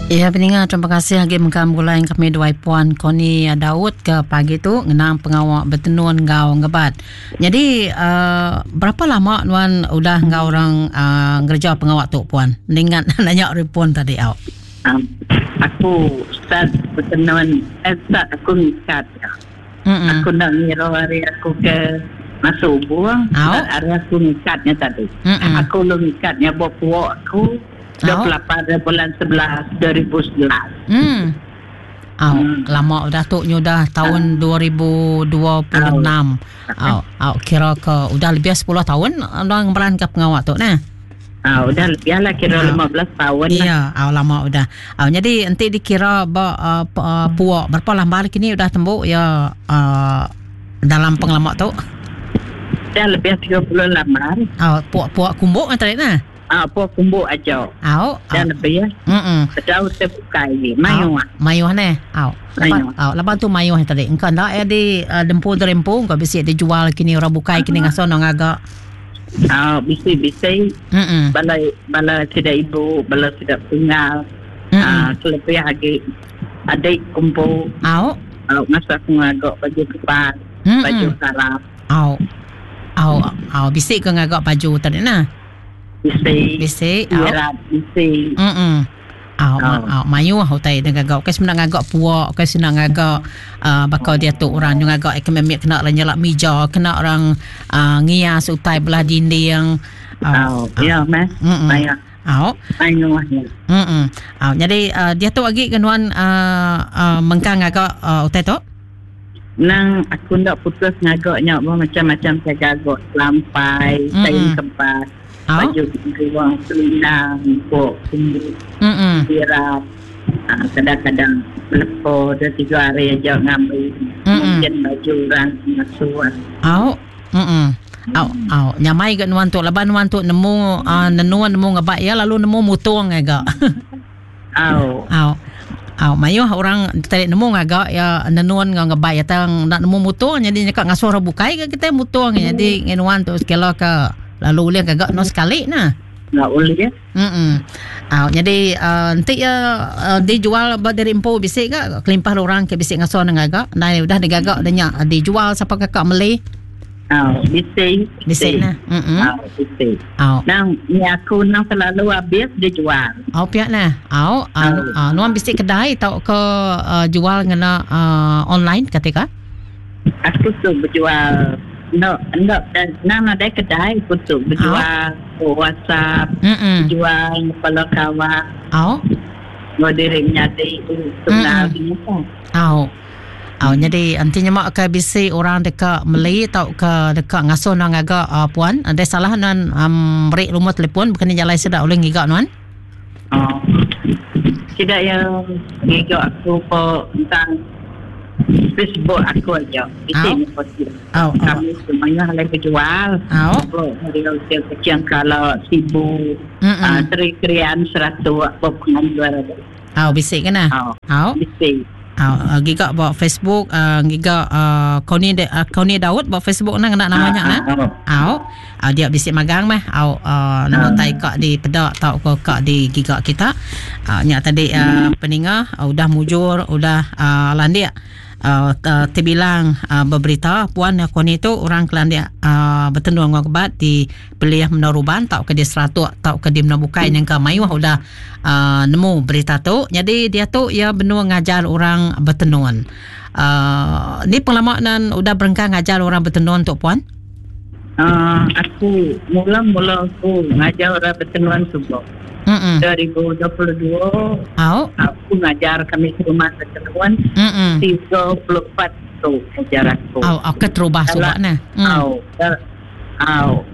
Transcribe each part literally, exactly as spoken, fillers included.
Ya peninga, terima kasih lagi mengkam gulai kami dua Puan Koni Daud ke pagi tu ngenang pengawak bertenun ngau ngebat. Jadi uh, berapa lama nuan udah ngau orang uh, ngerja pengawak tu puan? Ningat nanya repon tadi au. Um, aku start bertenun, eh, start aku ngikat. Mm-mm. Aku nak ngira hari aku ke masuk buang, hari aku ngikatnya tadi. Mm-mm. Aku lu ngikatnya bawa puak aku. dua puluh lapan bulan sebelas dua ribu sebelas. Hmm. Au, hmm. Lama udah tu nyudah tahun dua ribu dua puluh enam. Au, au kira ke udah lebih sepuluh tahun udah ngemeran ke pengawak tu nah. Ah, udah lebih lah kira lima belas tahun. Iya, au lama udah. Au jadi enti dikira ba uh, uh, puak berapa lama kini udah tembuk ya uh, dalam pengelama tu? Dah lebih tiga puluh lambar. Au, puak-puak kumbuk tadi nah. Ah, puak kumbuk aja. Au, dan lebih ya. Heeh. Bedau terbuka ini. Mayuh. Mayuh ne. Au. Laban, au, laban tu mayuh tadi. Engkau ndak ya di uh, dempu terempu engkau bisi dijual kini orang bukai kini ngaso nang agak. Ah, bisi-bisi. Heeh. Bala bala tidak ibu, bala tidak tunggal. Ah, lebih lagi adik kumpul. Au. Au, masa aku ngagak baju kepas, baju sarap. Au. Au, au bisi ke ngagak baju tadi nah. Bisi. Bisi. Au. Bisi. Heeh. Au, au mayuh utai dengan gagak. Ke senang ngagak puak, ke senang ngagak uh, bakal dia tu orang yang ngagak ekonomi kena orang nyelak meja, kena orang uh, ngias utai belah dinding. Au, ya meh. Mayuh. Au. Mayuh. Heeh. Au, jadi uh, dia tu lagi kenuan uh, uh, mengkang ngagak uh, utai tu. Nang aku ndak putus ngagaknya macam-macam saya gagak lampai, kain kebas. Baju ruang selindang, pok, kumbuk, sirap, kadang-kadang lepo, dua tiga hari aja ngambil. Mm-mm. Mungkin baju orang masuk. Au, mm-mm. Au, au, nyamai gak nuan tu, laban nuan tu nemu uh, nenuan nemu ngebak ya, lalu nemu mutung agak. Au. Au. Au, mayuh orang tadi nemu ngagak ya nenuan ngebak ya tang nak nemu mutung jadi nyekak ngasuh orang bukai ke kita mutung jadi ngenuan tu sekala ke lalu boleh gagak no sekali nah. Enggak boleh ya. Heeh. Ah, jadi uh, nanti ya uh, dijual dari empu bisik ke kelimpah orang ke bisik ngasuh nang gagak. Nah udah digagak dah nyak dijual siapa kakak meli. Ah, bisik. Bisik nah. Heeh. Ah, bisik. Ah. Nang ni aku nang selalu habis dijual. Oh pihak nah. Au, ah nuan bisik kedai tau ke uh, jual ngena uh, online ketika? Aku tu berjual no, no, nang ada kedai putu berjual oh. WhatsApp, berjual kepala kawan. Oh. Mau diri menyadi tunggal ni. Oh. Oh, jadi antinya mak ke bisi orang dekat meli atau ke dekat ngasuh nang agak uh, puan, ada salah nan um, beri rumah telefon bukan jalan sedak oleh ngigak nuan. Oh. Tidak yang ngigak aku po tentang Facebook aku aja. Itu ni pasti. Kami semuanya lagi berjual. Dari kecil kalau sibuk, teri-terian seratus apa penjual ada. Oh, bisik kan? Oh, bisik. Oh, gigak buat Facebook, gigak Koni Koni Daud buat Facebook nang nak namanya nah. Oh, dia bisik magang mah. Oh, nama tai kak di pedak tau ke kak di gigak kita. Nyak tadi peninga udah mujur, udah landik. Uh, terbilang uh, berberita puan Koni tu orang kelandia uh, bertenung ngebat di Peliah Menaruban tau ke di Seratuk tau ke di Menabukai yang ke mayuh udah uh, nemu berita tu. Jadi dia tu ia benua ngajar orang bertenun. Uh, ni pengalaman udah berengkang ngajar orang bertenun tu puan? Uh, aku mula-mula aku ngajar orang bertenun subuh. Mm-mm. dua ribu dua puluh dua oh. Aku ngajar kami ke rumah bertenun tiga puluh empat tu ngajar aku. Oh, aku terubah subak nah. Oh, oh.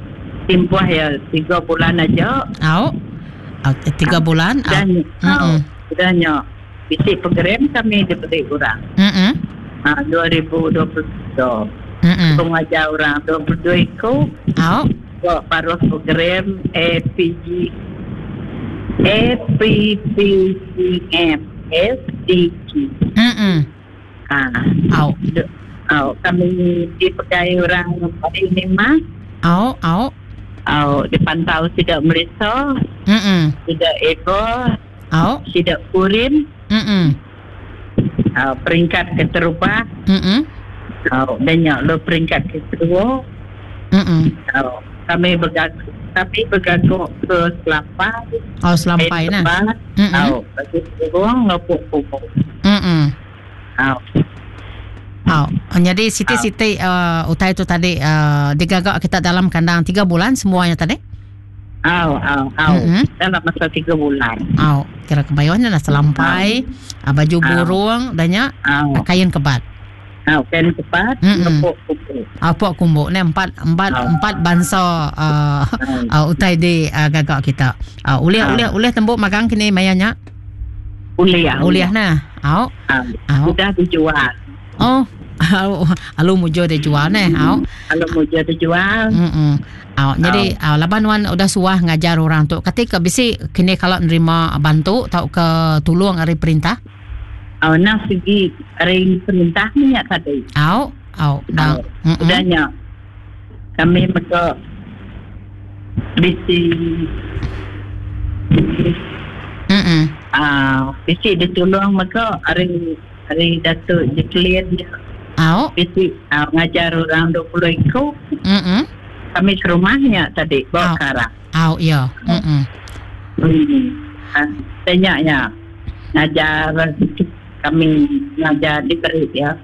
Timpuh ya tiga bulan aja. Oh. Oh, tiga bulan. Dan oh, sudahnya bisi program kami diberi orang. Mm-mm. Ha, dua ribu dua puluh dua. Mm-mm. Aku ngajar orang dua puluh dua ikut. Oh. Baru program A P G A P P C M S D G. Mm-mm. Ah. Au. Au, kami dipakai orang ini mah. Au, au. Au, dipantau tidak merisa. Mm-mm. Tidak ego. Au. Sida kurin. Mm. Uh, peringkat keterubah. Mm. Uh, dan nya lo peringkat kedua. Mm. Uh, kami bergaguk, kami bergaguk ke Selampai. Oh, Selampai nah. Mm. Oh, bagi burung ngepuk pupuk. Mm. Oh. Oh, jadi siti-siti uh, utai tu tadi uh, digagak kita dalam kandang tiga bulan semuanya tadi? Oh, oh, oh. Mm-hmm. Dalam masa tiga bulan. Oh, kira kebayuannya lah Selampai, oh. Baju burung, oh. Dannya oh. Kain kebat. Oh, kain kebat, ngepuk kumbuk. Ngepuk kumbuk ni empat empat oh. empat bangsa uh, oh. uh, utai di uh, gagak kita. Uh, ulih Oh. ulih ulih tembuk magang kini mayanya. Ulih, Ulih nah. Au. Oh. Au. Sudah dijual. Oh. Alu mujo dia jual neh. Au. Alu mujo dia jual. Mm. Au, jadi au laban wan udah suah ngajar orang tu. Ketika bisi kini kalau nerima bantu tau ke tulung ari perintah. Au nak segi ari perintah ni ya tadi. Au, au, dah. Udahnya kami mereka bisi Mm. Ah, bisi ditolong mereka ari ari Datuk Jacqueline dia. Au. Bisi uh, ngajar orang dua puluh ikut. Mm. Kami ke rumahnya tadi bawa karang. Au, ya. Mm. Hmm. Ah, tanyanya ngajar kami ngajar diberi ya.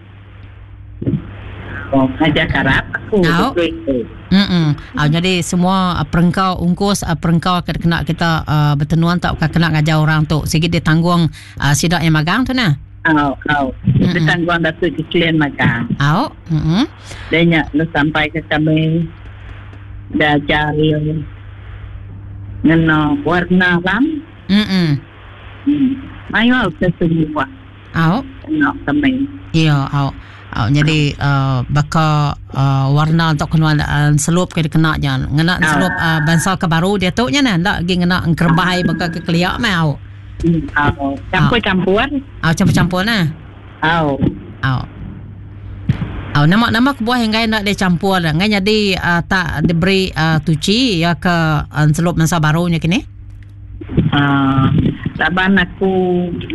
Oh, ngajar karap aku Au. dua puluh ikut. Mm. Ah, jadi semua uh, perengkau ungkus uh, perengkau kena kita uh, bertenuan tak kena ngajar orang tu. Sikit dia tanggung uh, sidak yang magang tu nah. Au, au. Mm-mm. Ditanggung Datuk Jacqueline magang. Au. Mm. Dia nyak lu sampai ke kami dah cari ngena warna lam. Mm. Hmm. Mayo ke semua. Au. Kena kami. Ya, au. Au, jadi uh, baka uh, warna untuk kena uh, selup ke kena nya. Ngena selup uh, bangsa ke baru dia tu nya nah, ndak gi ngena engkerbai baka ke keliak mah au. Hmm. Au. Campur-campur. Au, campur-campur nah. Au. Au. Au, nama-nama kebuah yang ngai nak dia campur dah. Ngai jadi uh, tak diberi uh, tuci ya ke uh, selup masa barunya kini. Ah, laban aku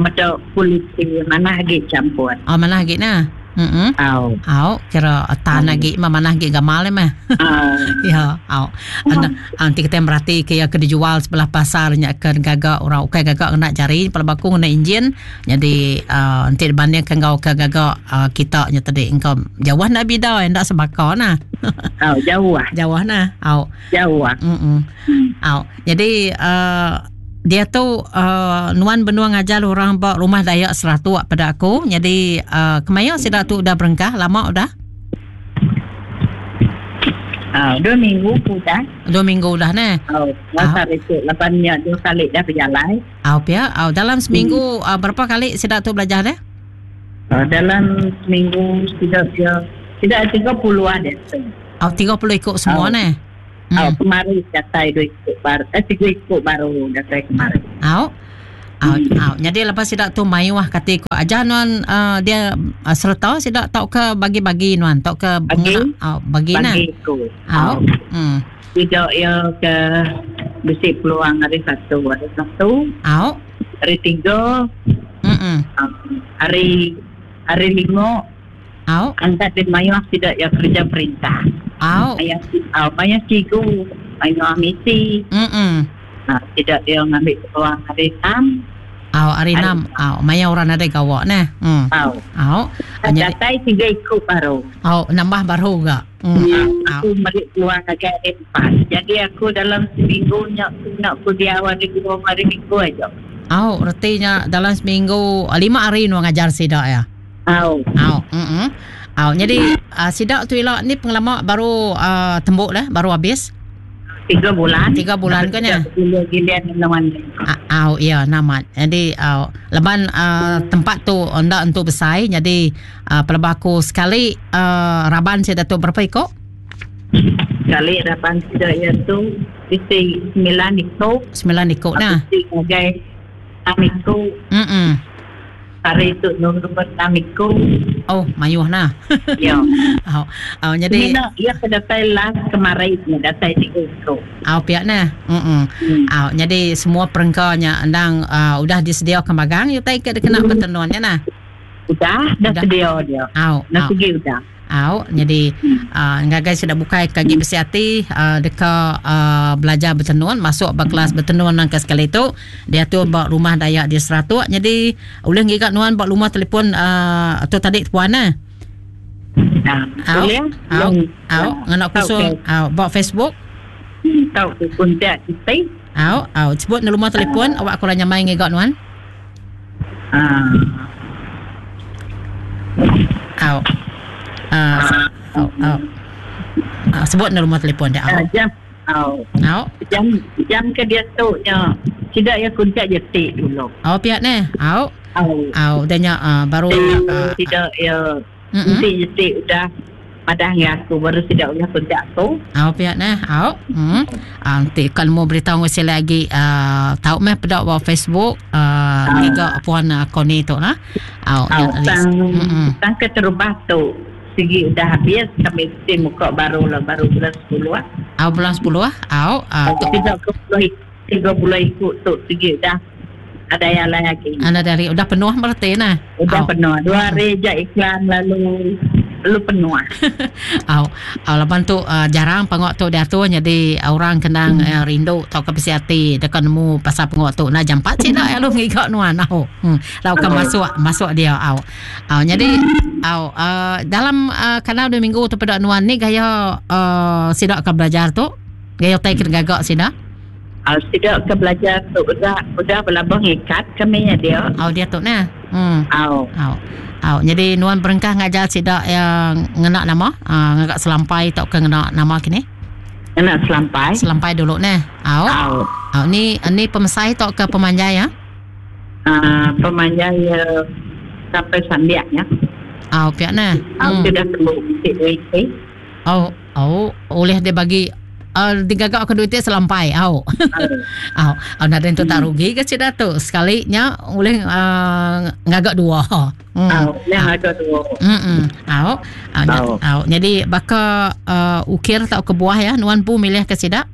macam kulit mana lagi campur. Oh, mana lagi nah. Mm. Au. Au, kira tan lagi mah mana lagi gamal mah. Au. Ya, au. Ana nanti kita merhati ke ya ke dijual sebelah pasarnya ke gagak orang ukai gagak kena jari pada baku kena enjin. Jadi uh, nanti dibanding ke ngau ke gagak uh, kita nya tadi engkau jauh nak bida ndak sebaka nah. Au, jauh ah. Jauh nah. Au. Jauh ah. Mm. Au. Jadi uh, dia tu uh, nuan benua ngajar orang ba rumah Dayak Seratuk pada aku. Jadi uh, kemaya sidak tu dah berengkah lama udah? Ah, dua minggu sudah. Dua minggu dah nah. Oh, masa itu lapannya dua kali dah berjalan. Ah, ya. Ah, dalam seminggu hmm. uh, berapa kali sidak tu belajar dah? Uh, dalam seminggu tidak dia tidak tiga puluh ada. Ah, tiga puluh ikut semua oh. nah. Hmm. Oh, kemarin datai dua ikut baru, eh tiga ikut baru datai kemarin. Au. Au, hmm. au. Jadi lepas sidak tu mayuah kata ikut aja nuan uh, dia uh, serta sidak tau ke bagi-bagi nuan tau ke bagi au bagi nah. Bagi ikut. Au. Hmm. Tidak ya ke besi peluang hari satu, hari satu. Au. Hari tiga. Hmm. Um, hari hari lima. Au. Angkat di mayuah tidak ya kerja perintah. Au. Maya, au, maya cikgu, maya misi. Mm. Nah, tidak dia ngambil peluang hari enam. Au, hari enam. Au, maya orang ada gawak nah. Hmm. Au. Au. Datai tiga ikut baru. Au, nambah baru gak. Hmm. Au. Aku balik peluang agak hari empat. Jadi aku dalam seminggu nak nak pergi awal di dua hari minggu aja. Au, artinya dalam seminggu lima hari nu ngajar sidak ya. Au. Au. Mm. Au, jadi uh, sidak tu elok ni pengelama baru uh, tembuk dah, baru habis. Tiga bulan. Tiga bulan kan ya? Gilian lawan. Au, ya, namat. Jadi au, leban uh, tempat tu ndak untuk besar, jadi uh, pelebaku sekali uh, raban saya datuk berapa ikut? Sekali raban sidak ya tu isi sembilan ikut. Sembilan ikut nah. Sebagai enam ikut. Mm. Hari itu nombor enam ikut. Oh, mayuh nah. Ya. Oh, oh jadi Mina ia ke datai last kemarin ni datai tiga itu. Oh, pihak nah. Mm. Hmm. Oh, jadi semua perengkanya endang uh, udah disediakan magang utai ke kena bertenunnya nah. Udah, dah Udah. sedia dia. Au, Dah au. segi udah. Au, jadi uh, ngagai sudah bukai kaki besi hati uh, deka uh, belajar bertenun masuk ba kelas bertenun nang ke sekali tu dia tu ba rumah Dayak di Seratuk. Jadi boleh ngiga nuan ba rumah telefon uh, tu tadi puan nah. Nah, Au, boleh? au, Belum. au, ngena Tahu khusus ke- au ba Facebook. Tahu ke kontak kita. Au, au, sebut rumah telefon awak kurang nyamai ngiga nuan. Ah. Au. Ah, au, au. Ah, sebut rumah telefon dia. Ah, Au. jam. Au. Au. Jam jam ke dia tu nya. Tidak ya kontak jetik dulu. Au pihak ni. Au. Au. Au, dan nya uh, baru uh, Tidak ya mm-mm. nanti jetik udah padah dengan aku baru tidak boleh kontak aku. Au pihak nah, au. Hmm. Ah, nanti kan mau beritahu ngasi lagi uh, tahu meh pedak bawah Facebook uh, tiga puan uh, Koni tu lah. Au, Au, yang tadi. tang Mm-mm. tang ke terubah tu segi udah habis kami mesti muka baru lah baru bulan sepuluh ah. Au bulan sepuluh ah. Au, uh, tu Tiga puluh tiga puluh ikut tu segi udah ada yang lain lagi. anda dari udah penuh berarti nah. Udah Au. penuh. Dua hari je iklan lalu lalu penuh. Au, au laban tu uh, jarang pengok tu diatur jadi orang kenang hmm. uh, rindu tau ke besi hati dekat nemu pasal pengok tu nah jam empat cik dak lu ngigak nuan au. Hmm. Lau kan Au. masuk masuk dia au. Au jadi au uh, dalam uh, kanal dua minggu tu pada nuan ni gaya uh, sidak ke belajar tu gaya tai kena gagak sidak. Ah, tidak ke belajar tu udah udah berlabang ikat kami nya dia. Au dia tu nah. Hmm. Au. Au. Au jadi nuan berengkah ngajar sidak yang ngena nama uh, ngagak selampai tau ke ngena nama kini. Kena selampai. Selampai dulu nah. Au. Au. Oh, ni ni pemesai atau ke pemanjai ya? Ah, pemanjai ya, sampai sambiaknya. Oh, pihak nah. Au Hmm. sudah perlu bisik duit. eh. Oh, oh, oleh dia bagi uh, digagak ke duit selampai. Oh. Au. Oh, oh nak tu tak rugi ke cik Datuk? Sekalinya oleh uh, ngagak dua. Hmm. Au, yang ada dua. Hmm. Au. Au. Au. Au. Jadi baka uh, ukir atau ke buah ya, nuan pu milih ke sidak?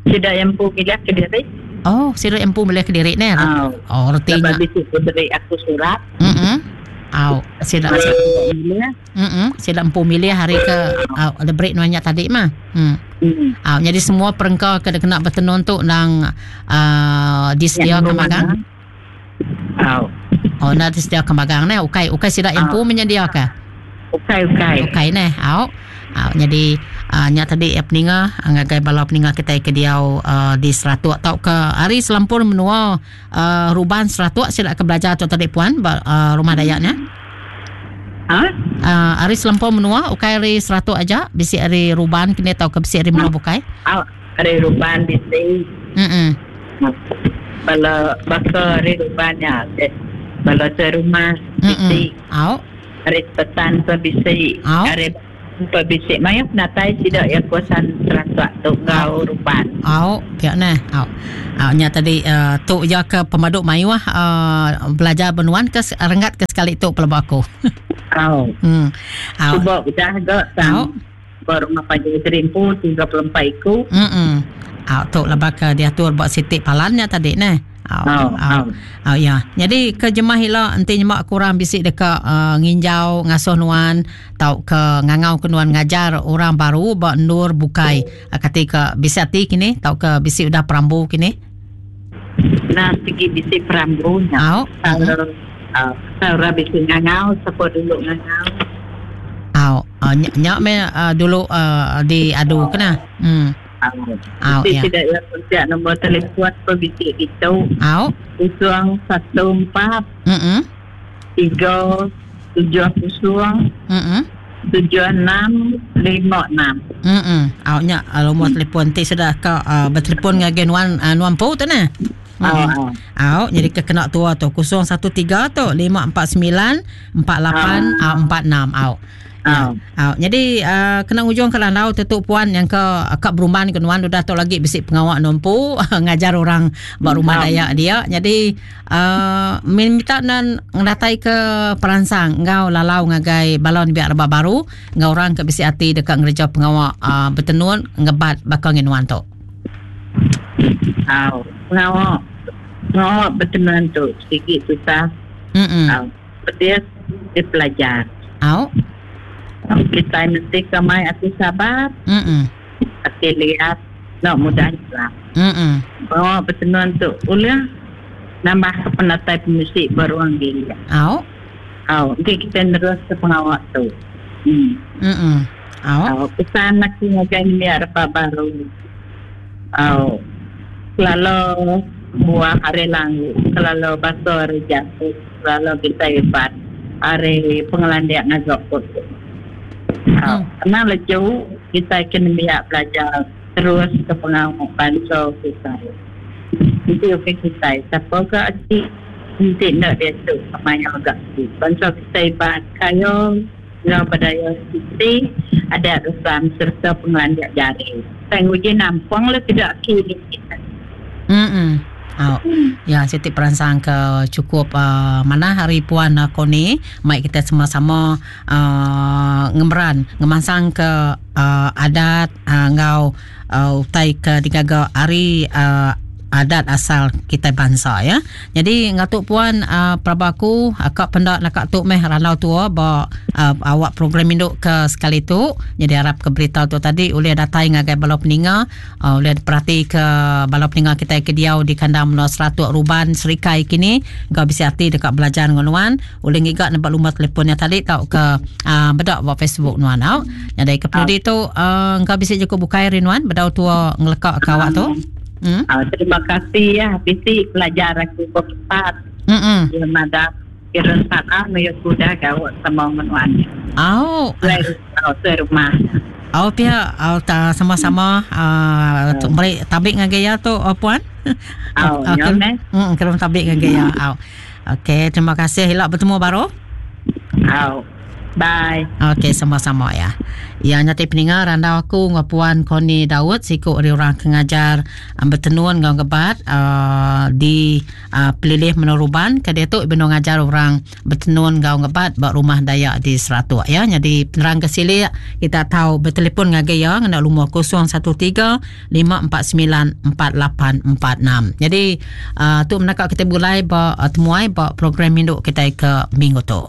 Tidak yang pu milih ke diri. Oh, sidak yang pu milih ke diri ni. Au. Oh, Sebab retinya. bisik ku beri aku surat. Hmm. Au, sidak Tidak milih. Mm-mm. Sila empu milih hari ke uh, ada break nuannya tadi mah. Hmm. Hmm. Ah, jadi semua perengka ke kena bertenun tu nang uh, disediakan magang. Au. Oh, nak disediakan magang ne. Ukai ukai sila empu menyediakan. Ukai ukai. Ukai ne. Au. Au, jadi uh, nya tadi ya peninga ngagai bala peninga kita ke diau uh, di Seratuk atau ke hari selampur menua uh, ruban Seratuk sila ke belajar tu tadi puan ba, uh, rumah Dayaknya. Ha? Uh, hari selampur menua ukai hari Seratuk aja bisi hari ruban kini atau ke bisi hari menua bukai. Au. Hari ruban bisik. Mm-mm. Bala baka hari rubannya. Bala ke rumah Mm-mm. bisik. Au. Hari petan pe bisik. Au. Hari pe bisik. Maya penatai tidak ya kuasan Seratuk tu ngau ruban. Au, pihak nah. Au. Au nya tadi uh, tu ya ke pemaduk mayuah uh, belajar benuan ke renggat ke sekali tu pelaba aku. Au. Hmm. Au. Cuba udah gak Au. tang. Baru rumah panjang terimpu tiga puluh empat iku. Mm-mm. Au tu laba ke diatur buat sitik palannya tadi nah. Au. Au, Au. au. Au ya. Jadi ke jemah hila enti nyemak kurang bisik dekat uh, nginjau ngasuh nuan tau ke ngangau ke nuan ngajar orang baru ba nur bukai. Uh, kati ke bisik hati kini tau ke bisik udah perambu kini. Nah, segi bisik perambunya. Au. Kalau uh, kalau bisik ngangau, siapa dulu ngangau. Au. Uh, nyak, nyak me uh, dulu uh, diadu kena. Hmm. Au. Au Bisik ya. tidak ya kontak nombor telefon pun bisik gitu. Au. Kosong satu empat Mm-mm. tiga tujuh kosong Mm-mm. tujuh enam lima enam. Mm-mm. Au nya uh, nombor telefon ti sudah ke uh, bertelefon dengan nuan uh, nuan pu tu nah. Au, Mm. au. Au, jadi ke kena tua tu kosong satu tiga tu lima empat sembilan empat lapan empat enam. Au. Oh. Oh. Jadi uh, kena ujung ke landau tentu puan yang ke akak berumban ke nuan udah tu lagi bisi pengawak numpu ngajar orang ba rumah Dayak dia. Jadi uh, minta nan ngedatai ke peransang ngau lalau ngagai balon biak rebak baru ngau orang ke bisi hati dekat ngereja pengawak uh, bertenun ngebat bakal ngenuan tu. Oh, pengawak pengawak bertenun tu sedikit susah. Mm-mm. Oh, dia dia pelajar. Oh. Kita mesti kemai aku sabar. Mm-mm. Aku lihat nak mudah lah. Mm-mm. Bawa bertenun tu ulah nambah ke penatai pemusik beruang diri. Au. Au, nanti kita terus ke pengawak tu. Hmm. Mm-mm. Au. Au, pesan aku ngajar ni apa baru. Au. Kalau buah hari langgu, kalau basuh hari jatuh, kalau kita hebat hari pengelandian ngazok tu. Hmm. Karena leju kita kena biar belajar terus ke pengawak bangsa kita. Nanti okey kita siapa ke aci nanti nak dia tu kemaya agak tu. Bangsa kita ibarat kayu, ngau budaya kita ada resam serta pengelandian jari. Tengok je nampang lah tidak kini kita. Hmm. Oh, ya, siti peransang ke cukup uh, mana hari puan uh, Koni, mai kita sama-sama uh, ngemeran, ngemansang ke uh, adat uh, ngau uh, utai ke digaga hari uh, adat asal kita bangsa ya. Jadi ngatuk puan uh, prabaku akak pendak nak tuk meh ranau tua ba uh, awak program induk ke sekali tu. Jadi harap ke berita tu tadi oleh datai ngagai bala peninga, uh, oleh perhati ke bala peninga kita ke diau di kandang menua seratus Ruban Serikai kini kau bisa hati dekat belajar dengan nuan oleh ngigak nampak lumah telefonnya tadi tau ke uh, bedak buat Facebook nuan au. Jadi ke penudi tu uh, kau bisa cukup bukai rinuan bedau tua ngelekak ke awak tu. Hmm? Oh, terima kasih ya, bisi pelajar aku berempat. Mm-mm. Ya madam, kira salah ya sudah kau sama menuan. Oh, oh, rumah. Oh pihak, oh, ta sama-sama uh, Oh. beri tabik ngagai ya tu oh, puan. Oh, Okey. ya meh. Hmm, kira tabik ngagai ya. Oh. Okey, terima kasih. Hilak bertemu baru. Oh. Bye. Okey, sama-sama ya. Ya, nyati peninga randau aku ngau puan Koni Daud siku ri orang kengajar um, bertenun ngau ngebat uh, di uh, pelilih Meneruban ke dia tu beno ngajar orang bertenun ngau ngebat ba rumah Dayak di Seratuk ya. Jadi penerang ke silik kita tahu bertelefon ngagai ya ngena lumur kosong satu tiga lima empat sembilan empat lapan empat enam. Jadi uh, tu menakak kita bulai ba uh, temuai ba program induk kita ke minggu tu.